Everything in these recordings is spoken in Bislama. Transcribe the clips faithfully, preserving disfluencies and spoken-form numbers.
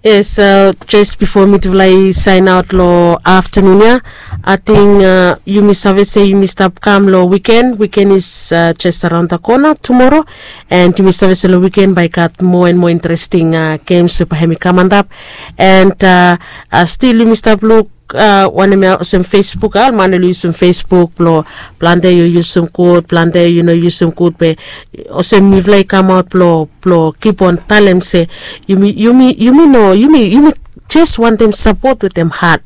Yes, jes bifo mitufala i sain aot long aftanun ya, ating yumi save se yumi stap kam long wiken. Wiken is jes araon da kona tumoro. And yumi save se long wiken bae i gat moa and moa interesting gems we bae hem i kam antap. And stil yumi stap luk wanem ya olsem Facebook a ol man oli yusum Facebook blong plante yu yusum gud plante yu no yusum gud be olsem mifala i kamaot blong blong kipon talem se yumi yumi yumi no yumi yumi jes wantem sapot wetem hat.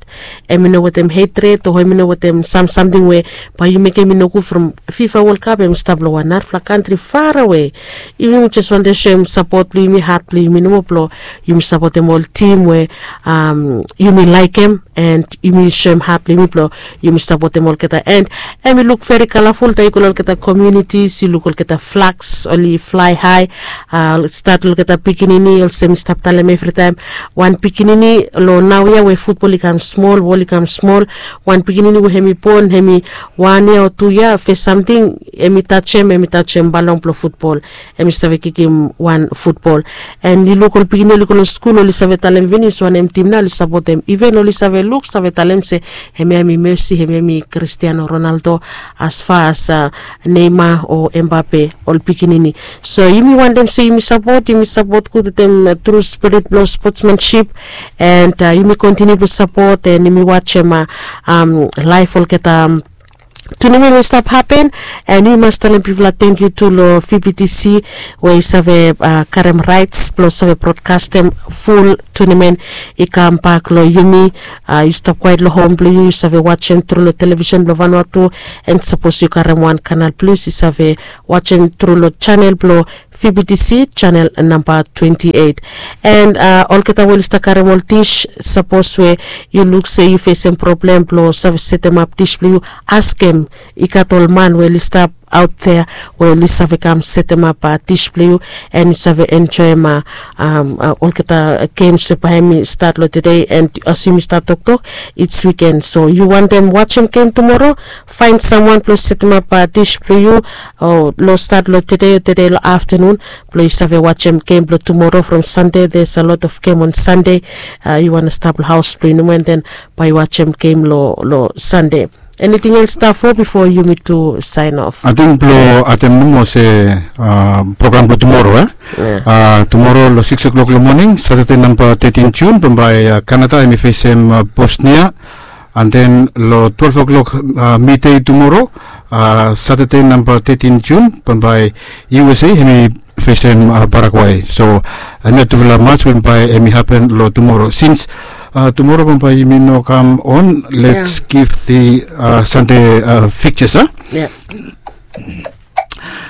Em i no wetem hetret o em i no wetem sam samting we bae yu mekem i nogud from fifa wolkap em i stap long wan narafala kantri farawe. Yumi jes wantem soem sapot blong yumi hat blong yumi nomo blong yumi sapotem ol tim we yumi laikem and yumi soem hat blong yumi blong yumi sapotem olgeta and em i luk veri kalaful taem yu go long olgeta komiunitis yu luk olgeta flaks oli flae hae. Stat long olgeta pikinini olsem mi stap talem evritaem wan pikinini long naoia we futbol i kam smol wol i kam smol. Wan pikinini we hem i bon hem i wan yia o tu yia fes samting hem i tajem hem i tajem balong blong futbol. Hem i save kikim wan futbol. And yu luk ol pikinini oli go long skul oli save talem finis wanem tim nao oli sapotem iven oli save luk save talem se hemia hem i mesi hemia hem i kristiano ronaldo. As far as neima o embape ol pikinini. So yumi wantem se yumi sapot yumi sapot gud wetem tru spirit blong spotsmanship. And yumi kontiniu blong sapot and yumi wajem laef olgeta tunamen we i stap hapen. And yumi mas talem bigfala tengkiu tu long vptc we i save karem raets blong save brodkastem ful tunamen i kambak long yumi. Yu stap kwaet long hom blong yu yu save wajem tru long televisen blong vanua tu. And sapos yu karem wan kanal plis yu save wajem tru long janel blong vptc janel namba twenti eit. And olgeta we oli stap karem ol dis sapos we yu luk se yu fesem problem blong save setemap dis blong yu askem i gat ol man we oli stap aot dea we oli save kam setemap dis blong yu and yu save enjoem olgeta gems we bae hem i stat long tede and as yumi stat toktok its wiken so yu wantem wajem gem tumoro faen samwan blong setemap dis blong yu o long stat long tede o tede long aftanun blong yu save wajem gem blong tumoro from sande there's a lot of gem on sande. Yu wantem stap long haos blong yu nomo and then bae yu wajem gem long sande. Eniting els stap fo bifo yumi tu saen of? Ating blong atem nomo se program blong tumoro e tumoro long sikis oklok long moning satade namba tetin jun bambae kanada hem i fesem bosnia. And then long twelef oklok midei tumoro satade namba tetin jun bambae usa hem i fesem parakwai so hemia tufala mats we bambae hem i hapen long tumoro sins tumoro bambae yumi no kam on lets giv di sande fikjas a.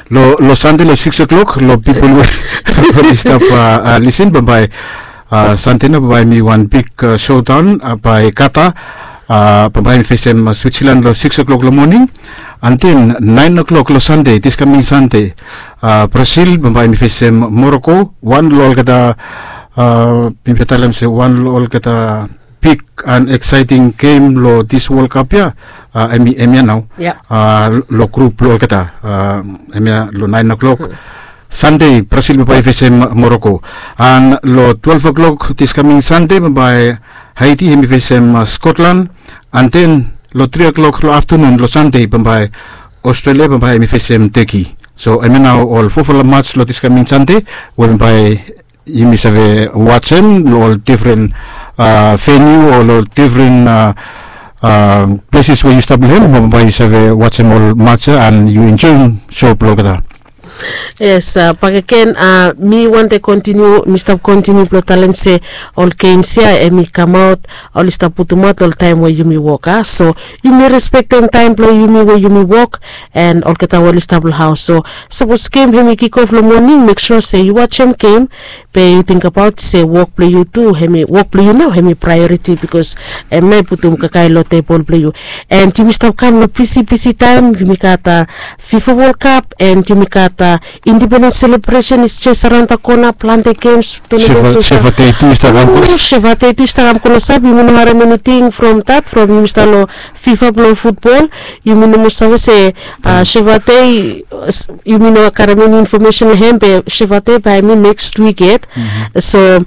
Long sande long sikis oklok long pipol we oli stap lisin bambae sande na bambae mi wan bik sodaon bae kata bambae mi fesem switsilan long sikis oklok long moning. Anten naen oklok long sande diskaming sande brasil bambae mi fesem moroko wan long olgeta mifia talem se wan long olgeta bik an eksaeting gem long dis wolkap ya. Hemia nao long grup blong olgeta hemia long naen oklok sande brasil bambae i fesem moroko. An long twelef oklok diskaming sande bambae haiti hem i fesem skotlan. Anten long tri oklok long aftanun long sande bambae australia bambae hem i fesem teki. So hemia nao ol fofala mats long diskaming sande we bambae yumi save wajem long ol difren veniu o long ol difren pleses we yu stap long hem mo bae yu save wajem ol mats ya an yu enjoem so blong olgeta. Yes, bakegen mi wantem kontiniu mi stap kontiniu blong talem se ol gems ya hem i kamaot oli stap putumaot long taem we yumi wok a so yumi respektem taem blong yumi we yumi wok. And olgeta we oli stap long haos so sapos gem hem i kikof long moning mek sua se yu wajem gem be yu tingbaot se wok blong yu tu hem i wok blong yu nao hem i praeoriti bikos hem nao i putum kakae long tebol blong yu. And yumi stap kam long bisi bisi taem yumi gat fifa wolkap and yumi gat Independens selebresen is jes araon da kona, plante gems. Sevatei tu i stap kam kona sap, yumi no harem eniting from dat from yumi stap long fifa blong futbol. Yumi no moa save se sevatei, yumi no karem eni infomesen long hem be sevatei bae hem i neks wik yet. So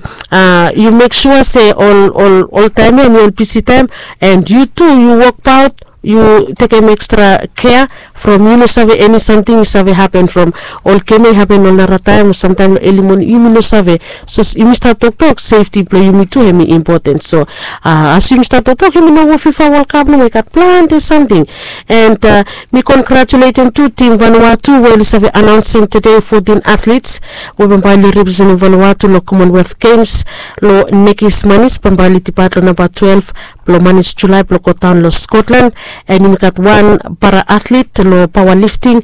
yu mek sua se ol taem ya em i ol bisi taem, and yu tu yu wokbaot, yu tekem ekstra kea from yu no save eni samting i save hapen from ol gem ya i hapen ol narataem o samtaem long eli moning yumi no save. So yumi stap toktok sefti blong yumi tu hem i impoten. So as yumi stap toktok yumi no wok fifa wolkap nomo, i gat plante samting. And mi kongratuletem tu tim vanua tu we oli save anaonsem tede fotin atlits we bambae oli representem vanua tu long komonwelth gems long nekis manis bambae oli dipaet long namba twelef blong manis julae blong godaon long skotlan. And yumi gat wan para atlit long paoa lifting,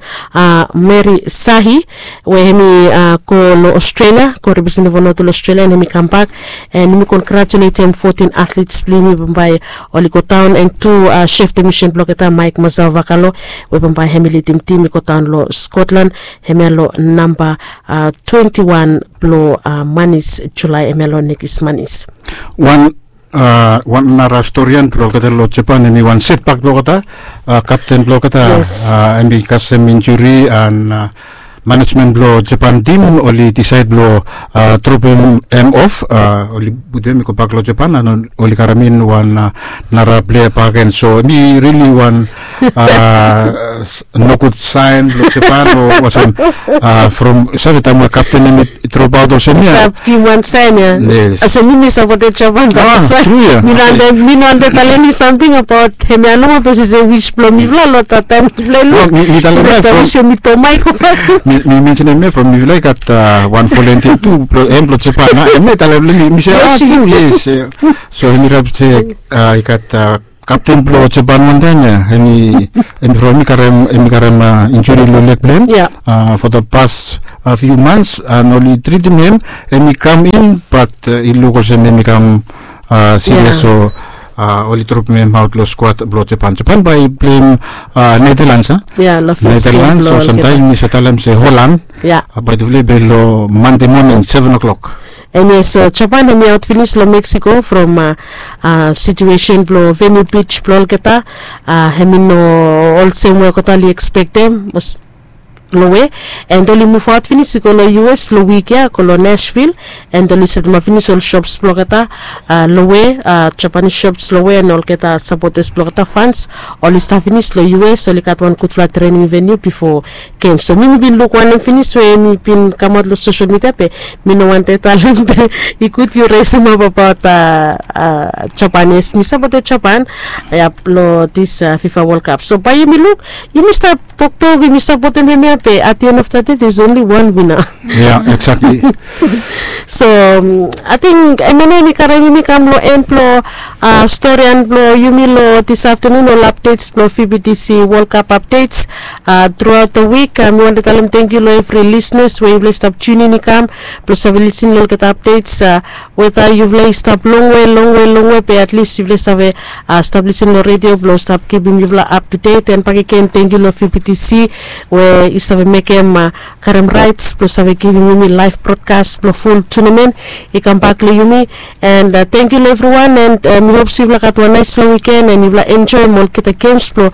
meri sahi, we hem i go long australia go representem vanua tu long australia and hem i kambak. And yumi kongratuletem fotin atlits blong yumi bambae oli godaon and tu sef de misen blong olgeta maik masal vakalo we bambae hem i lidim tim i godaon long skotlan. Hemia long namba twenti wan blong manis julae, hemia long nekis manis. Wan nara storian blong olgeta long japan, hem i wan setbak blong olgeta. Kapten blong olgeta hem i kasem injuri and manejmen blong japan tim oli disaed blong dropem hem of, oli putum hem i gobak long japan and oli karem in wan nara plea bakegen. So hem i rili wan nogud saen blong japan o olsem from save taem we kapten hem i dropaot olsem ya. Stap givim wan saen ya. Yes. Olsem mi mi sapotem japan, that's why mi no wante talem eni samting abaot hemia nomo, bikos i se wis blong mifala long dat taem mifala i luk mi talem mi stap wis yumi tomai. Mi mensenem ya from mifala i gat wan volunteer tu blong hem blong japan, a hem ya i talem long mi mi se a tru yes. So hem i rap se i gat kapten blong japan wantaem ya, hem i from hem i karem injuri long leg blong hem for the past few months and oli tritim hem. Hem i kam in bat i luk olsem hem i kam sirias, so oli dropim hem aot long skwad blong japan. Japan bae i pleim netherlands a, netherlands o samtaem yumi save talem se holand. Bae tufala i be long mande moning seven o'clock. And yes, japan hem i aot finis long mexico from situesen blong venu bij blong olgeta. Hem i no olsem we olgeta oli ekspektem. Long we and oli muvaot finis i go long us long wik ya go long nashville. And oli setemap finis ol shops blong olgeta long we japanis shops long we and olgeta sapotas blong olgeta fans oli stap finis long us, oli gat wan gudfala trening venu bifo gem. So mi mi bin luk wanem finis we mi bin kamaot long sosel midia be mi no wante talem be i gud yu resemap abaot japanis mi sapotem japan ya long dis fifa wolkap. So bae yumi luk yumi stap toktok yumi sapotem hemia be at the end of the day there's only one winner. Ya exactly. So ating emene yumi karem yumi kam long en blong storian blong yumi long dis aftenun ol apdets blong vbtc wolkap apdets. Truaot da wik mi wante talem tengkiu long evri lisnas we yufala i stap tunin i kam blong save lisin long olgeta apdets. Weta yufala i stap longwe longwe longwe be atlis yufala i save stap lisin long redio blong stap givim yufala aptudet and bakegen tengkiu long vbtc we i save mekem karem raets blong save givim yumi laef brodkas blong ful tunamen i kambak long yumi. And tengkiu long evriwan and mi hop se yufala gat wan naesfala wiken and yufala enjoem olgeta gems blong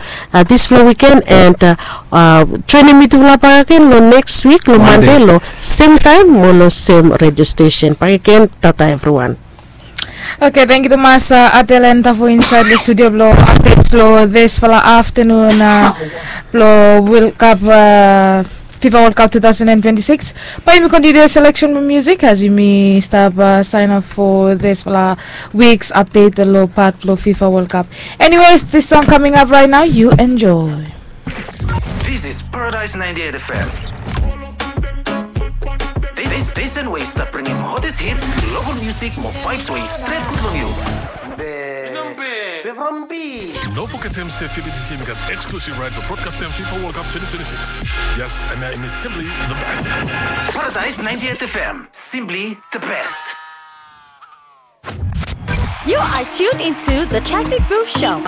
disfala wiken and joenem mitufala bakagen long neks wik long mande long semtaem mo long sem redio stesen bakagen. Tata evriwan. Oke tengkiu tumas adelen tafo insaed long studio blong apdets long disfala aftenun blong wolkap fifa wolkap two thousand and twenty-six. Bae yumi kontiniu seleksen blong musik as yumi stap saen of fo disfala wiks apdet long pat blong fifa wolkap. Eniwes dis song kaming ap rait nao yu enjoe. This is Paradise ninety-eight F M. This station wey stap bringim hottest hits, local music mo vibes wey stret good long you. Be from B. No forget him say F B T C got exclusive right to broadcast them FIFA World Cup twenty twenty-six. Yes, and that is simply the best. Paradise ninety-eight F M, simply the best. You are tuned into the Traffic Booth Show.